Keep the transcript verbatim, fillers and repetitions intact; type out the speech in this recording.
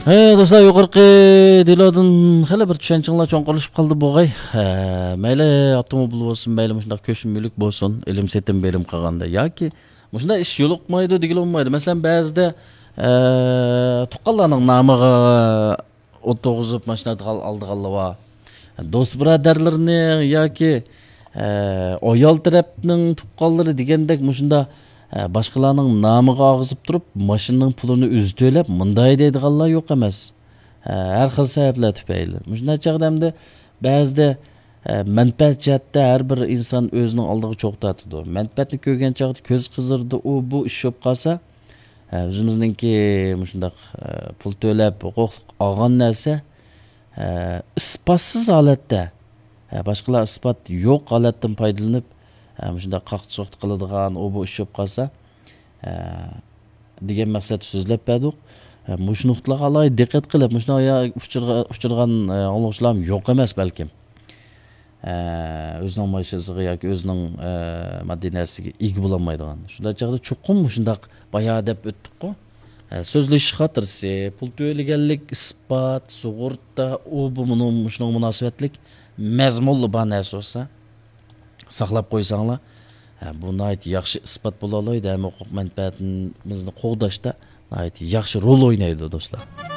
ھەي، دوستلار، يۇقىرىقى دېلودىن خېلى بىر چۈشەنچىڭلار چوڭقۇرلىشىپ قالدى بۇغاي. ھە، مەيلى ئاپتوموبىل بولسۇن، مەيلى مۇشۇنداق كۆچمە مۈلۈك بولسۇن، ئېلىم سېتىم بېرىم قىلغاندا ياكى مۇشۇنداق ئىش يولۇقمايدۇ دېگىلى بولمايدۇ. مەسىلەن، بەزىدە، ئە، تۇغقانلارنىڭ نامىغا ئولتۇرغۇزۇپ ماشىنا ئالدىغانلار بار. دوست بۇرادەرلىرىنىڭ ياكى، ئە، ئايال تەرەپنىڭ تۇغقانلىرى دېگەندەك مۇشۇنداق، ئە، باشقىلارنىڭ نامىغا ئاغزىپ تۇرۇپ، ماشىنىنىڭ پۇلىنى ئۆزى تۆلەپ، مۇنداق دەيدىغانلار يوق ئەمەس. ئە، ھەر خىل سەۋەبلەر تۈپەيلى. مۇشۇنداق چاغدا ئەمدى بەزىدە، ئە، مەنپەئەت جەھەتتە ھەر بىر ئىنسان ئۆزىنىڭ ئالدىغا چوق تارتىدۇ. مەنپەئەتنى كۆرگەن چاغدا كۆز قىزىرىدۇ، ئۇ بۇ ئىش بولۇپ قالسا، ئە، ئۆزىمىزنىڭكى مۇشۇنداق، ئە، پۇل تۆلەپ ھوقۇقلۇق ئالغان نەرسە، ئە، ئىسپاتسىز ھالەتتە، ئە، باشقىلار ئىسپات يوق ھالەتتىن پايدىلىنىپ، ئە، مۇشۇنداق قاقتى-سوقتى قىلىدىغان، ئۇ بۇ ئىش بولۇپ قالسا، ئە، دېگەن مەقسەتتە سۆزلەپ بەردۇق. ئە، مۇشۇ نۇقتىلارغا ئالاھىدە دىققەت قىلىپ، مۇشۇنداق يا-، ئۇچرىغا-، ئۇچرىغان، ئە، ئاڭلىغۇچىلارمۇ يوق ئەمەس بەلكىم. ئە، ئۆزىنىڭ ماشىنىسىغا ياكى ئۆزىنىڭ، ئە، ماددىي نەرسىگە ئىگە بولالمايدىغان. شۇنداق چاغدا چوقۇم مۇشۇنداق بايا دەپ ئۆتتۇققۇ. ئە، سۆزلىشىش خاتىرىسى، پۇل تۆلىگەنلىك ئىسپات، سۇغۇرتا، ئۇ بۇ مۇنۇ-، مۇشۇنىڭغا مۇناسىۋەتلىك مەزمۇنلا بار نەرسە بولسا، ساقلاپ قويساڭلار، ھە، بۇ ناھايىتى ياخشى ئىسپات بولالايدۇ ھەم ھوقۇق مەنپەئەتىمىزنى قوغداشتا ناھايىتى ياخشى رول ئوينايدۇ، دوستلار.